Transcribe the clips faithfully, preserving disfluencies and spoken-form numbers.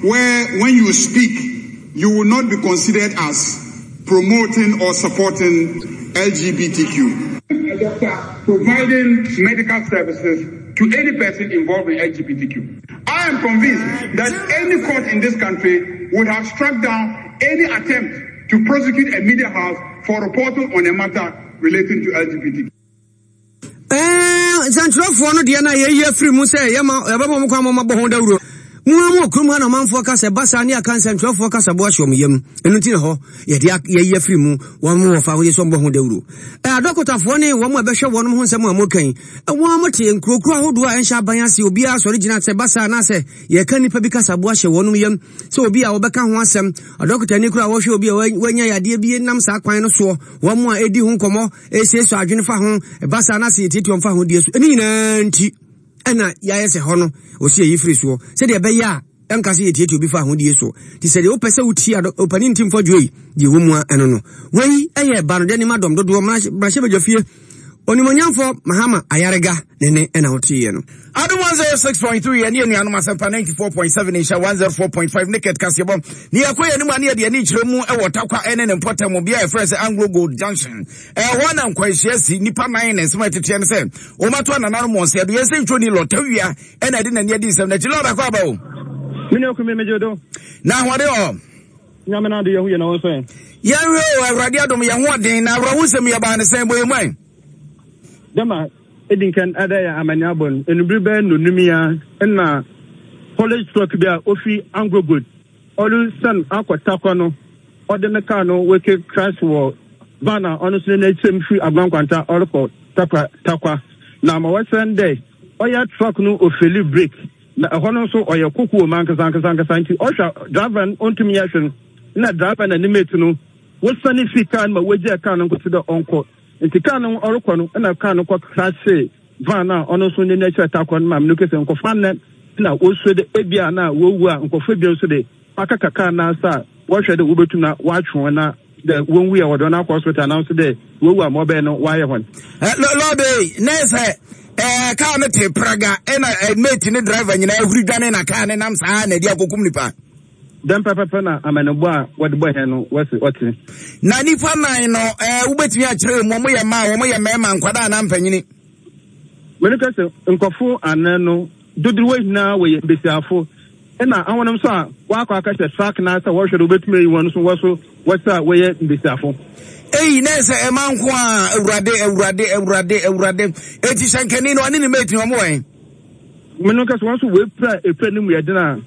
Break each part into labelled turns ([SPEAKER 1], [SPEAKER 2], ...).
[SPEAKER 1] where when you speak, you will not be considered as promoting or supporting L G B T Q. A doctor providing medical services to any person involved in L G B T Q. I am convinced that any court in this country would have struck down any attempt to prosecute a media house for reporting on a matter relating to L G B T Q.
[SPEAKER 2] Nsɛntwerɛfoɔ no deɛ no a yɛyi afiri mu sɛ yɛma yɛbɛma mo kwan ma mabɔ ho dawuro mu a mu wɔ kurom ha na ɔmanfoɔ ka sɛ ba saa ne aka nsɛntwerɛfoɔ kasa bo ahyɛ ɔmo yam. Ɛno nti na hɔ yɛde yɛyi afiri mu. Wɔn mo wɔfa ahodeɛ sɛ ɔmbɔ ho dawuro. Adɔkotafoɔ ne wɔn a ɛbɛhwɛ wɔn ho nsɛm a mokan wɔn mo te nkurokuro ahodoɔ a ɛnhyɛ aban ase. Obiara sɔre gyina sɛ ba saa anaasɛ yɛka nnipa bi kasa bo ahyɛ wɔn yam sɛ obi a wɔbɛka ho asɛm, adɔkotani koro a wɔhwɛ obi a wanya yadeɛ bi nam saa kwan no soɔ, wɔn a ɛdi ho nkɔmmɔ ɛsiesie adwene fa ho ɛba saa anaasɛ yɛtiatia wɔn fa ho die so. Ɛne nyinaa nti ɛna yɛayɛ sɛ hɔ no ɔsi yɛyi firi soɔ sɛdeɛ ɛbɛyɛ a ɛnka sɛ yɛtiatia obi fa ahodie so. Nti sɛdeɛ wopɛ sɛ wotie ɔpani ntim fɔdwoe yi deɛ ɛwɔ mu a ɛno no wei ɛyɛ banodɛ nim adɔm dodoɔ mmarahyɛ fie onimonyamfoɔ Mahama Ayarega ne ne ɛna woteeɛ no.
[SPEAKER 3] Adom one oh six point three ɛne anuanom Asɛmpa ninety-four point seven, nhyɛ one oh four point five ne ket kaseɛbɔ ne yɛkɔ yɛ anim a ne yɛde ani kyerɛ mu ɛwɔ Takwa ɛne ne mpɔtam bia yɛfrɛ sɛ Anglo Gold Junction. Ɛhɔ na nkwanhyia si nnipa nan ne nsɛm a ɛteteɛ no sɛ wɔmato anananom wɔn sɛ ɛdo yɛn sɛ ntwoni lɔtawia ɛna ɛde n'ani adi nsɛm n'akyi. Lord akɔ aba o.
[SPEAKER 4] Mene okumi megye do.
[SPEAKER 3] Na ahoɔden wɔ?
[SPEAKER 4] Nyame no ade yɛho yɛ na wo nso ɛ?
[SPEAKER 3] Yɛnhwɛ o, Awurade adom, yɛn ho ɔden. Na awerɛho nsɛm yɛbaa ne sɛn bɔ yɛ mu ɛ?
[SPEAKER 4] Dɛma ɛdi nkan ɛdɛ yɛ amani abɔ no enubiri bɛyɛ nonum ya ɛna haulage truck bi a ofi Anglo Gold ɔresan akɔ Takwa no, ɔde ne car no weke crash wɔ van a ɔno nso n'akyirɛ mu firi Agorɔ ɔrekɔ Takwa. Takwa na ma wɔsɛn dɛ ɔyɛ truck no ofail brake na ɛhɔ no nso ɔyɛ koko wɔ mu ankasa ankasa ankasa, nti ɔhwɛ driver no ɔntumi yɛ hwɛ no na driver na ne mate no wosane fi car no ma wogyaa car no nkosi dɛ ɔnkɔ. Nti car no ɔrekɔ no ɛna car no kɔ crash van a ɔno nso ne n'akyerɛ Takwa no. Maame no kese nkɔfa nnɛ na wɔsuo de ebia na wɔwu a nkɔfo ebien nso de akaka car n'asa a wɔhwɛ de wɔbɛtum na wɔatwe wɔn na dɛ wɔn wu yɛ wɔde wɔn akɔ hospital anaa nso dɛ wɔwu a ma ɔbɛyɛ no wɔayɛ hɔn.
[SPEAKER 3] Lord ne sɛ ɛɛ kaa no te praga ɛna mate ne driver nyinaa ahuri dwane na kaa ne nam saa na ɛde akɔkum nipa.
[SPEAKER 4] Dɛm pɛpɛpɛ na amanebɔ a wɔde bɔ hɛn no wɔsi ɔte.
[SPEAKER 3] Na nipa nan no, ɛɛ wobɛtumi akyerɛ mu wɔn yɛ mmaa, wɔn yɛ mmarima, nkwadaa anaa mpanyini?
[SPEAKER 4] Mene ka sɛ nkɔfo anan no dodoɔ nyinaa wɔyɛ mbesiafo, ɛna ahonom nso a wakɔ akɛhyɛ truck na sɛ wɔhwɛ do wobɛtumi ayi wɔn nso wɔ so wɔsɛ a wɔyɛ mbesiafo.
[SPEAKER 3] Eyi na sɛ ɛma nko a, Awurade, Awurade, Awurade, Awurade! Eti hyɛnkani no ɔne ne mate wɔn wɔ
[SPEAKER 4] Mene ka sɛ wɔn nso wɔapira epira no mu yɛ den a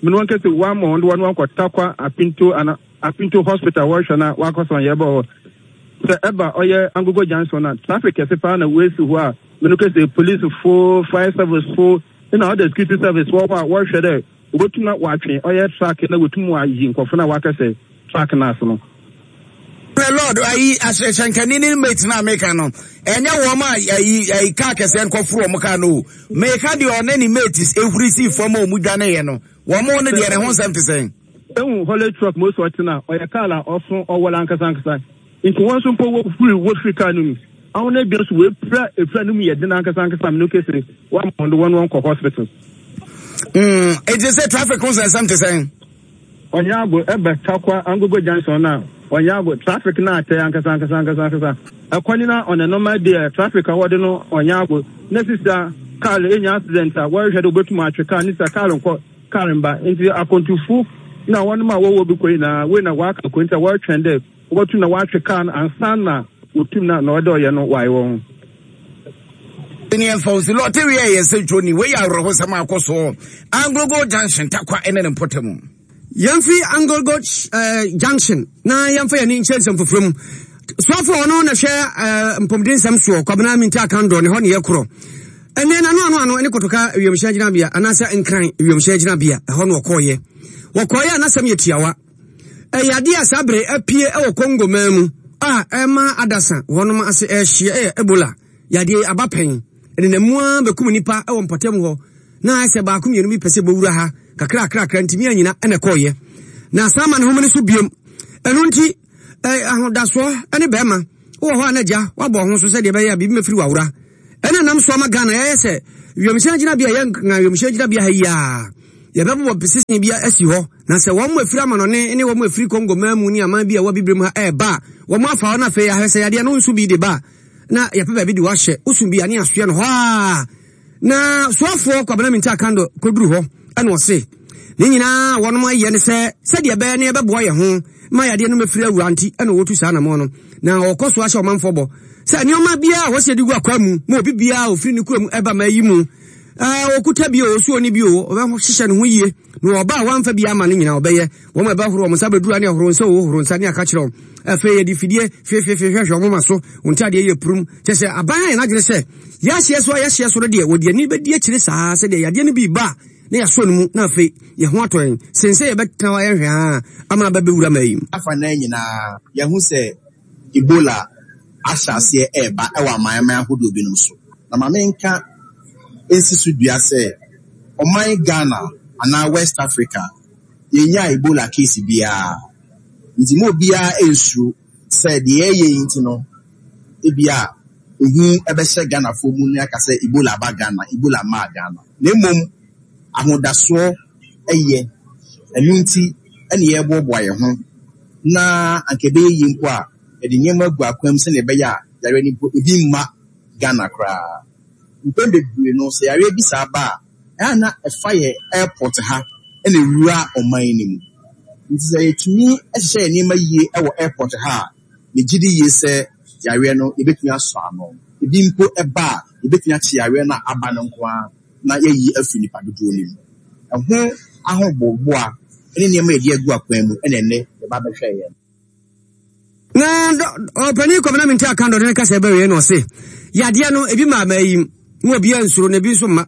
[SPEAKER 4] mene wɔn kɛsɛ wɔama wɔn de wɔn akɔ Takwa Apinto ana Apinto Hospital, wɔhwɛ na wakɔ sɔn yɛ bɔ hɔ sɛ ɛba ɔyɛ Angogo Junction na traffic kɛse paa na wɔasi hɔ a mene kɛsɛ police fo, fire service fo ɛna ɔda security service wɔ hɔ a wɔhwɛ dɛ wɔbɛtum na wɔatwe ɔyɛ truck na wɔtum wɔayi nkɔfo na wakɛsɛ truck no ase no.
[SPEAKER 3] Lord, ayi ahyɛnkani ne mate na meka no, ɛnyɛ wɔn a ayi ayi kaa kɛseɛ nkɔforo wɔn kaa no o. Meka deɛ ɔne ne mate ehuri si fam a wɔn dwane yɛ no, wɔn no deɛ ne ho nsɛm te sɛn?
[SPEAKER 4] Ehu haulage truck mo so ɔte na ɔyɛ kaa la ɔso ɔwɔla ankasa ankasa, nti wɔn nso mpo wɔfiri wɔfiri kaa no mu ahɔn ebien nso wɔapira epira no mu yɛ den ankasa ankasa. Mene kese wɔama wɔn de wɔn wɔn kɔ hospital.
[SPEAKER 3] Mm, eti sɛ traffic ho nsɛnsɛm te sɛn?
[SPEAKER 4] Ɔnyɛ ago ɛbɛ Takwa Angogo Junction na ɔnyɛ ago traffic na atɛ ankasa ankasa ankasa ankasa. Ɛkwan ni na ɔne normal day traffic a wɔde no ɔnyɛ ago na sisa car enya accident a wɔrehwɛ de wɔbɛtum atwe car ne sisa car nkɔ car mba, nti akontufo na wɔn a wɔwɔ bi kɔ nyinaa wei na wɔaka kɔ, nti a wɔretwɛn dɛ wɔbɛtum na wɔatwe car no ansa na wɔtum na na ɔde ɔyɛ no wɔayɛ wɔn.
[SPEAKER 3] Ne ɛmfa wo si lɔte wie yɛ sɛ twoni wei yɛ awerɛhosɛm akɔ soɔ Anglogo Junction, Takwa ɛne ne mpɔtam.
[SPEAKER 2] Yɛmfi Anglogo uh, Junction na yɛmfa yɛne nkyerɛ nsɛm foforɔ mu. Soafo ɔno na hwɛ uh, mpɔmuden nsɛm soɔ, Kwabena Minti Akandɔ, ne hɔ ne yɛkorɔ ɛnɛ nano ano ano ne Kotoka wiemhyɛn gyinabea anaasɛ Nkran wiemhyɛn gyinabea. Ɛhɔ no wɔkɔɔyɛ wɔkɔɔyɛ a n'asɛm yɛ tiawa. Ɛyɛ adeɛ a saa bere apue ɛwɔ Congo man mu a ɛma adasa wɔnom ase ɛhyia. Ɛyɛ Ebola yadeɛ aba pɛn ɛnenam a bɛkum nipa ɛwɔ mpɔtam hɔ na ayɛ sɛ baako mmienu bi pɛ sɛ bɔwura ha kakra kakra ntumi anyina ɛna ɛkɔɔyɛ na saa ma ne home no so biom. Ɛno nti ahodasoɔ ne bɛrima wowɔ hɔ a na gya woabɔ ho so sɛdeɛ ɛbɛyɛ a biribi mɛfiri wawora. Ɛna nam so ama Ghana yɛyɛ sɛ wiemhyɛn gyinabea yɛ nka wiemhyɛn gyinabea ha yi a Yɛbɛbobɔ pesesene bi asi hɔ, na sɛ wɔn afiri amanɔne ne wɔn afiri Congo man mu ne aman bi a ɛwɔ Abibirem ha ɛreba a, wɔn afa hɔ na afei ahwɛ sɛ yadeɛ no nso bi de ba a, na yɛpɛ baabi de wahyɛ. Wosu bi a ne asoɛ no hɔ a. Na soafoɔ Kwabena Mintah Akandoh kɔduru hɔ ɛna ɔse ne nyinaa wɔnom ayɛ ne sɛ sɛdeɛ ɛbɛyɛ ne yɛbɛboa yɛn ho ma yadeɛ no mɛfiri awura nti ɛna wɔtu saa anammɔn no. Na ɔkɔ so ahyɛ ɔmanfoɔ bɔ sɛ nneɛma biara a wɔsi de gu akwa mu ma obi biara ofiri ne kurom ɛba ma yi mu ɔkuta bi o, osuo ni bi o, ɔbɛhyehyɛ ne ho yie na ɔba a wamfa bi ama no nyinaa ɔbɛyɛ wɔn a ɛbɛhoro wɔn nsa bɛduru ne ɛhoro nsa o horo nsa ne aka kyerɛ wɔn. Afei yɛde fidie fiefiefi hwehwɛ wɔn ma so wɔn ntadeɛ yɛ purum kyɛ sɛ aban ayɛ n'adwene sɛ yɛahyeɛ so a yɛahyeɛ so no deɛ wɔde ani bɛdi akyire saa sɛdeɛ yadeɛ no bi ba a na yɛasɔ no mu na afei yɛn ho atɔ yɛn sen sɛ yɛbɛtena hɔ ayɛ hwɛ a ama abɛbɛwura ma yi.
[SPEAKER 5] Afa nan nyinaa yɛho sɛ Ebola ahyɛ aseɛ ɛreba ɛwɔ amanaman ahodoɔ binom so. Na ma menka nsi so dua sɛ ɔman Ghana anaa West Africa yɛnya Ebola case biara. Nti mo obiara nsuro sɛ deɛ ɛyɛ yi nti no ebia ehu ɛbɛhyɛ Ghanafoɔ mu ne aka sɛ Ebola aba Ghana, Ebola maa Ghana. Na mmom ahodasoɔ ɛyɛ ɛno nti ɛne yɛreboaboa yɛn ho na anka ɛbɛyɛ yie mpo a yɛde nneɛma agu akwan mu sɛnea ɛbɛyɛ a yareɛ no mpo ebi mma Ghana koraa. Mpɛn bebree no sɛ yareɛ bi saa ba a ɛyɛ na ɛfa yɛ airport ha ɛna ewura ɔman no mu. Nti sɛ yɛtumi hyehyɛ yɛn nneɛma yie ɛwɔ airport ha a, megye di yie sɛ yareɛ no yɛbɛtumi asɔ ano. Ebi mpo ɛba a yɛbɛtumi akye yareɛ no a aba no nko ara na yɛayi afiri nipa dodoɔ no mu. Ɛho ahoboaboa ne nneɛma yɛde agu akwan mu ɛna ɛnnɛ yɛba bɛhwɛ yɛn.
[SPEAKER 2] Na ɔpanin Kwabena Mintah Akandoh de ne kasa bɛwie na ɔse yadeɛ no ebi ma ama yi mu obi ansuro na ebi nso mma.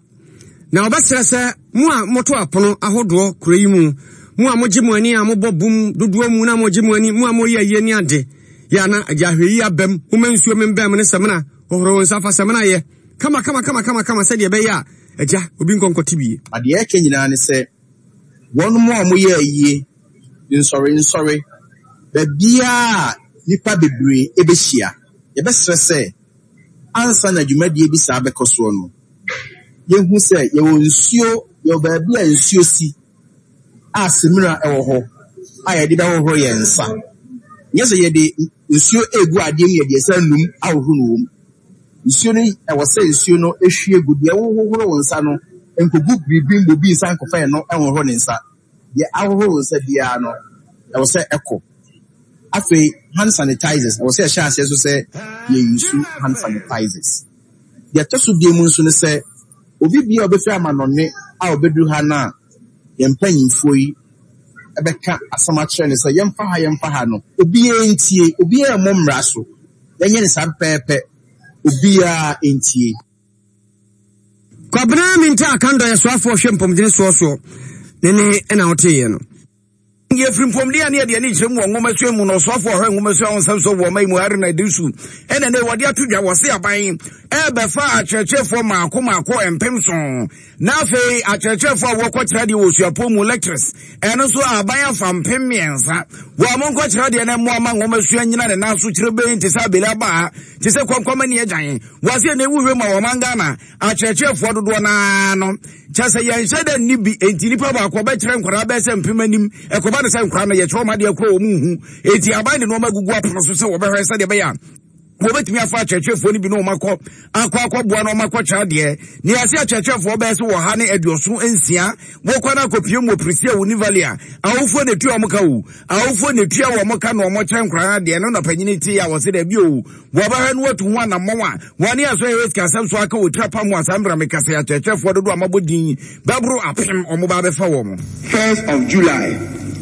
[SPEAKER 2] Na ɔbɛsrɛ sɛ mo a moto apono ahodoɔ kuro yi mu, mo a mogye mo ani a mobɔ bum dodoɔ mu na mogye mo ani, mo a moyɛ ayie ne ade yɛ ana agya ahwɛ yi abam, moma nsuo membɛn mo ne samina, hohoro wo nsa fa samina yɛ kama kama kama kama kama sɛdeɛ ɛbɛyɛ a agya obi nkɔ nkɔte bie.
[SPEAKER 5] Adeɛ ɛka nyinaa ne sɛ wɔn mo a wɔyɛ ayie nsɔre nsɔre baabiara nipa bebree ɛbɛhyia. Yɛbɛsrɛ sɛ ansa na dwumadie bi saa bɛkɔ soɔ no, yɛhu sɛ yɛwɔ nsuo, yɛwɔ baabi a nsuo si a samina ɛwɔ hɔ a yɛde bɛhohoro yɛn nsa. Nyɛ sɛ yɛde nsuo egu adeɛ mu yɛde ɛsɛ num ahohoro no wɔ mu. Nsuo no ɛwɔ sɛ nsuo no ehwie gu deɛ wohohoro wo nsa no nkogu biribi mbɔ bi nsa nkɔfa yɛn no ɛhohoro ne nsa. Deɛ ahohoro wo nsa biara no ɛwɔ sɛ ɛkɔ. Afei hand sanitizers ɛwɔ sɛ yɛhyɛ aseɛ so sɛ yɛuse hand sanitizers. Deɛ ɛtɔ so bie mu nso ne sɛ obi bia a ɔbɛfiri amanɔne a ɔbɛduru ha no a yɛn mpanyinfoɔ yi ɛbɛka asɛm akyerɛ no sɛ yɛmfa ha yɛmfa ha no obiara ntie, obiara mmɔ mmara so. Yɛnyɛ ne saa pɛpɛɛpɛ, obiara ntie.
[SPEAKER 2] Kwabena Mintah Akandoh yɛ soafoɔ hwɛ mpɔmdene soɔ soɔ ne ne ɛna woteeɛ no.
[SPEAKER 3] Yɛfiri mpɔmden a ne yɛde ani kyerɛ mu wɔ nwomasua mu no, ɔsoafoɔ ɔhwɛ nwomasua ho nsɛm so wɔ ɔman mu Haruna Iddrisu ɛna ne wɔde ato dwa wɔ se aban ɛbɛfa akyerɛkyerɛfoɔ maako maako mpem so. Na afei akyerɛkyerɛfoɔ a wɔkɔkyerɛ deɛ wɔ suapɔn mu lecturers ɛno nso aban afa mpem mmiɛnsa. Wɔn mo nkɔkyerɛ deɛ na mmoa ma nwomasua nyina ne nan so kyerɛ bɛn te sɛ abele aba te sɛ kɔnkɔm ani agyan. Wɔse na ewu hwɛ mu a wɔn Ghana akyerɛkyerɛfoɔ dodoɔ naa no kyɛ sɛ yɛnhyɛ dɛ nni bi enti nipa baako ɔbɛkyerɛ nkwadaa bɛyɛ sɛ mpem anim ɛkɔba ne sɛ nkwadaa no yɛkyerɛ wɔn adeɛ korɔ wɔn nhu enti aban de nneɛma gugu apono so sɛ wɔbɛhwɛ sɛdeɛ ɛbɛyɛ a wɔbɛtumi afa akyerɛkyerɛfoɔ no bi na wɔn akɔ akɔ akɔboa na wɔn akɔkyerɛ adeɛ ne yɛase akyerɛkyerɛfoɔ bɛyɛ sɛ wɔ ha ne aduɔson nsia wɔkɔ no akɔpie mu wɔ Prestea wɔ Nivali a awofoɔ na etua wɔn ka o awofoɔ na etua wɔn ka na wɔn kyerɛ nkwadaa adeɛ no na panyin te a wɔsɛ dɛbi o wɔbɛhwɛ no wɔatu ho anammɔn a wɔne asɔ yɛ sika asɛm so aka wɔ tira pam wɔ asɛm mmerɛ mekasa akyerɛkyerɛfoɔ dodoɔ a mabɔ din bɛboro apem wɔn ba abɛfa wɔn.
[SPEAKER 1] First of July,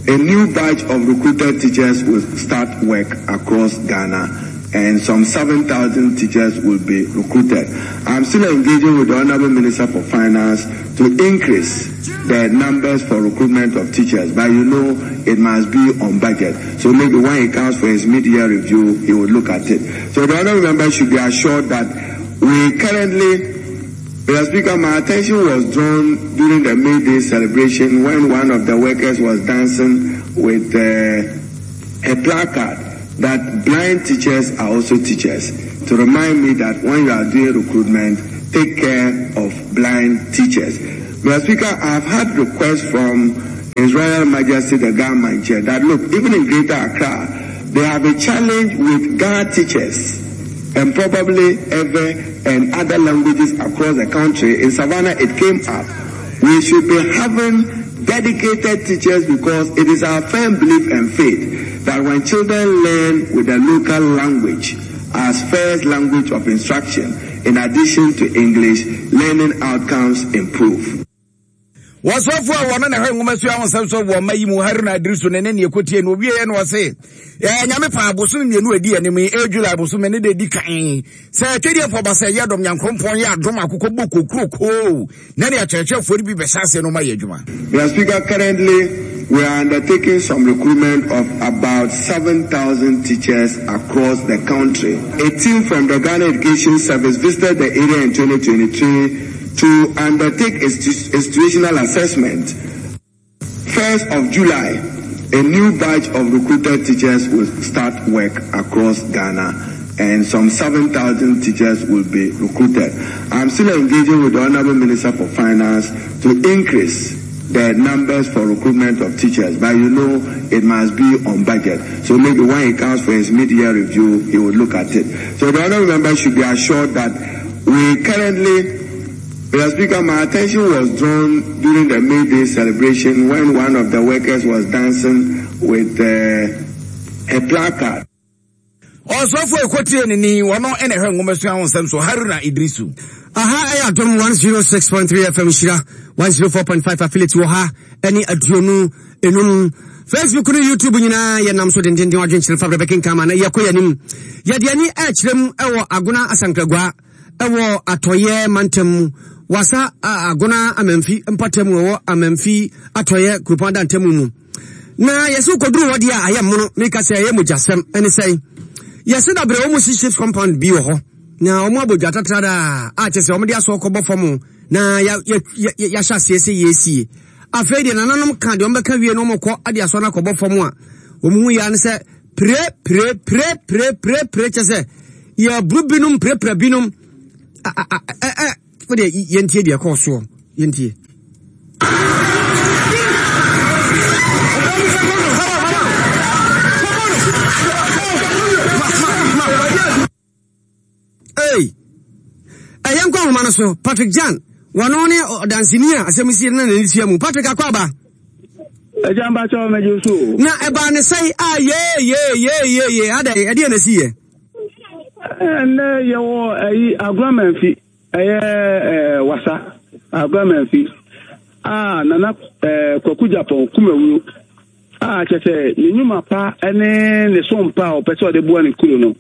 [SPEAKER 1] a new batch of recruited teachers will start work across Ghana, and some seven thousand teachers will be recruited. I'm still engaging with the Honorable Minister for Finance to increase the numbers for recruitment of teachers, but you know it must be on budget. So maybe when he comes for his mid-year review, he will look at it. So the Honorable Member should be assured that we currently, Mister Speaker, my attention was drawn during the May Day celebration when one of the workers was dancing with, uh, a placard that blind teachers are also teachers, to remind me that when you are doing recruitment, take care of blind teachers. Mister Speaker, I have had requests from His Royal Majesty the Ga Mantse that look, even in Greater Accra, they have a challenge with Ga teachers and probably Ewe and other languages across the country. In Savannah, it came up. We should be having dedicated teachers because it is our firm belief and faith that when children learn with the local language as first language of instruction, in addition to English, learning outcomes improve.
[SPEAKER 3] Wɔsɔfo a wɔno na ɛhwɛ nwoma sua ho nsɛm so wɔ ɔma yi mu Haruna Iddrisu ne ne neɛ kɔtie no ɔwieɛ no ɔse ɛɛ nyame paa bosome mmienu adi anim yi ɛyɛ July bosome ne de di kan sɛ twɛdeɛ ba sɛ yɛ dɔm nyankoropɔn yɛ adom akokɔ bɔ kokurokoo na ne akyerɛkyerɛfoɔ no bi bɛhyɛ aseɛ no ma yɛ adwuma.
[SPEAKER 1] Mister Speaker, currently we are undertaking some recruitment of about seven thousand teachers across the country. A team from the Ghana Education Service visited the area in twenty twenty-three to undertake a institutional assessment. First of July, a new batch of recruited teachers will start work across Ghana, and some seven thousand teachers will be recruited. I'm still engaging with the Honorable Minister for Finance to increase the numbers for recruitment of teachers, but you know it must be on budget. So maybe when he comes for his mid-year review, he will look at it. So the Honorable Member should be assured that we currently, Mister Speaker, my attention was drawn during the May Day celebration when one of the workers was dancing with uh, a placard.
[SPEAKER 3] Ɔsɔfo ekotie ne ni wɔno ɛna ɛhwɛ nwoma sua ho nsɛm so Haruna Iddrisu.
[SPEAKER 2] Aha ɛyɛ Adom one oh six point three F M Hyira one oh four point five affiliate wɔ ha ɛne aduonu enum Facebook ne YouTube nyinaa yɛnam so dendenden adwenkyerɛ fa brɛ bɛkenkan na yɛkɔ yɛnim. Yɛde ani ɛkyerɛ mu ɛwɔ Agona Asankragua ɛwɔ Atɔyɛ mantam mu. Wasa Agona Amamfi mpɔtam wɔ Amamfi Atɔyɛ kuropɔn adantam mu. Na yɛsɛ koduru hɔ deɛ a ayɛ mmono meka sɛ ɛyɛ mogyasɛm ɛne sɛn. Yɛsɛ dabrɛ wɔn si shift compound bi wɔ hɔ na wɔn abɔ dwa tatrada a kyerɛ sɛ wɔn de asɔ kɔbɔ fam na ya ya yɛahyɛ aseɛ sɛ yɛsie. Afei deɛ nananom ka deɛ wɔn bɛka wie na wɔn kɔ ade asɔ no akɔbɔ fam a wɔn ho yɛ ne sɛ pire pire pire pire pire pire kyerɛ sɛ yɛaburu binom pirepire binom a a a ɛ wodeɛ yɛntie deɛ ɛkɔɔ soɔ yɛntie. Hey, ɛyɛ nkɔ ahoma no so Patrick Jan wɔno ne ɔdanseni a asɛm si na n'ani tua mu. Patrick akɔ aba.
[SPEAKER 4] Ɛgya mbakyɛ ɔmɛgye so.
[SPEAKER 2] Na ɛbaa ne sɛe a yee yee yee yee yee ada ɛdeɛ na si yɛ.
[SPEAKER 4] Ɛnɛ yɛwɔ ɛyi Agona Mamfi ɛyɛ ɛɛ wasa Agona Mamfi a nana ɛɛ Kwaku Japan Kumawuro a kyerɛ sɛ ne nnwuma pa ɛne ne som pa a ɔpɛ sɛ ɔde boa ne kuro no.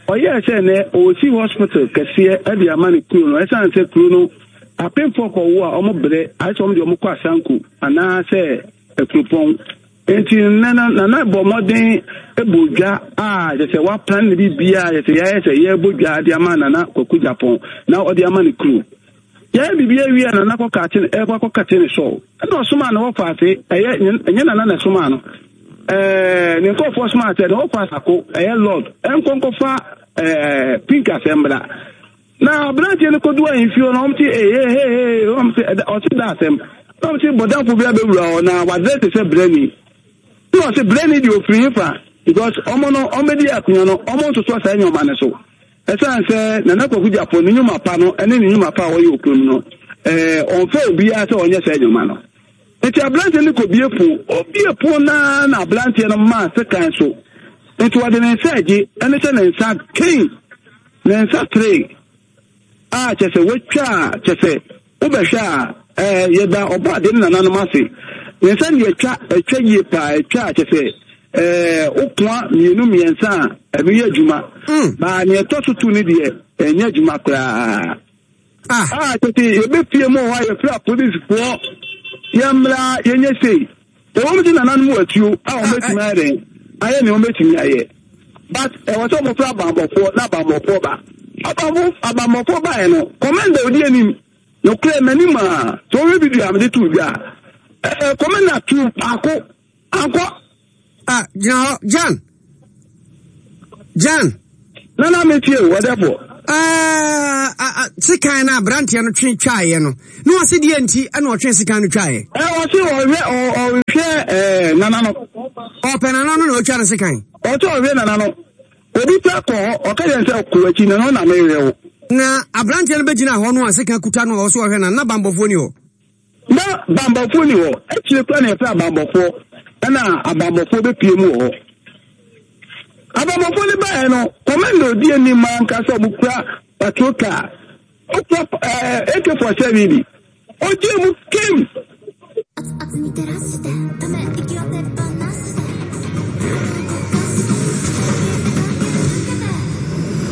[SPEAKER 4] Ɔyɛɛ sɛ nɛ ɔsi hospital kɛseɛ ɛde ama ne kuro no ɛsiane sɛ kuro no apemfoɔ kɔwo a ɔmo brɛ ayɛ sɛ ɔmo de ɔmo kɔ asanko anaasɛ akuropɔn. Nti nana nana bɔ mmɔden ɛbɔ dwa a kyerɛ sɛ waplan ne biribiara kyerɛ sɛ yɛayɛ sɛ yɛbɔ dwa de ama nana Kwaku Japan na ɔde ama ne kuro. Yɛyɛ biribi awie a nana kɔkate ne ɛkɔ akɔkate ne sɔɔ ɛna ɔsoma ne wɔfa ase ɛyɛ ɛnyɛ nana na ɛsoma no ɛɛ ne nkurɔfoɔ soma sɛ ne wɔfa asako ɛyɛ lord ɛnkɔ nkɔfa ɛɛ pink asɛmbra na aberanteɛ no kɔdu ahemfie no ɔmo te ee ee ee ɔmo te ɔte da asɛm na ɔmo te bɔdanfo bi abɛwura hɔ na wadrɛ te sɛ brɛni na ɔte brɛni deɛ ofiri hefa because ɔmo no ɔmo bɛdi akonnwa no ɔmo ntoto saa nneɛma no so. Ɛsiane sɛ nana Kwaku Japan ne nnwuma pa no ɛne ne nnwuma pa a ɔyɛ okurom no ɛɛ ɔnfɛ obiara sɛ ɔnyɛ saa nnwuma no. Nti aberanteɛ no kɔ bie pon obie pon naa na aberanteɛ no maa sekan so nti wɔde ne nsa agye ɛne sɛ ne nsa kei ne nsa tere a kyɛ sɛ watwa a kyɛ sɛ wobɛhwɛ a ɛɛ yɛda ɔbɔ ade ne nananom ase ne nsa ne atwa atwa yie paa atwa a kyɛ sɛ ɛɛ okoa mmienu mmiɛnsa a ɛno yɛ adwuma baa nea ɛtɔ so tu ne deɛ ɛnyɛ adwuma koraa. Ah, tete yɛbɛpie mu wɔ hɔ a yɛfrɛ apolisifoɔ yɛmmra yɛnyɛ sei ɛwɔ mu sɛ nananom wɔ atuo a wɔbɛtumi ayɛ dɛn ayɛ nea wɔbɛtumi ayɛ but ɛwɔ sɛ wɔfrɛ abanbɔfoɔ na abanbɔfoɔ ba abanbɔ abanbɔfoɔ baeɛ no kɔmɛnda odi anim nokorɛ m'anim a sɛ wɔhwɛ video a mede too dwa a ɛɛ kɔmɛnda tu baako ankɔ.
[SPEAKER 2] Ah, gyina hɔ Jan Jan.
[SPEAKER 4] Nana metie o ɔdɛfoɔ.
[SPEAKER 2] Ɛɛ, sekan no aberanteɛ no twe twaeɛ no, na ɔse deɛ nti ɛna ɔtwe sekan no twaeɛ?
[SPEAKER 1] Ɛ ɔse ɔhwɛ ɔhwɛ ɛɛ nana no.
[SPEAKER 2] Ɔpɛ nana no na ɔtwa no sekan.
[SPEAKER 1] Ɔsɛ ɔhwɛ nana no. Obi pɛ kɔ hɔ, ɔka yɛn sɛ kɔ akyi na na mehwɛ wo.
[SPEAKER 2] Na aberanteɛ no bɛgyina hɔ no a sekan kuta no a ɔsɛ ɔhwɛ nana, na bambɔfoɔ ni hɔ.
[SPEAKER 1] Na bambɔfoɔ ni hɔ. Akyire kora na yɛfrɛ abambɔfoɔ, ɛna abambɔfoɔ bɛpie mu wɔ hɔ. Abambɔfoɔ no baeɛ no, kɔmanda odi anim ankasa ɔmo kura patrol car, ɔkura ɛɛ A K forty seven bi, ɔgye mu kim.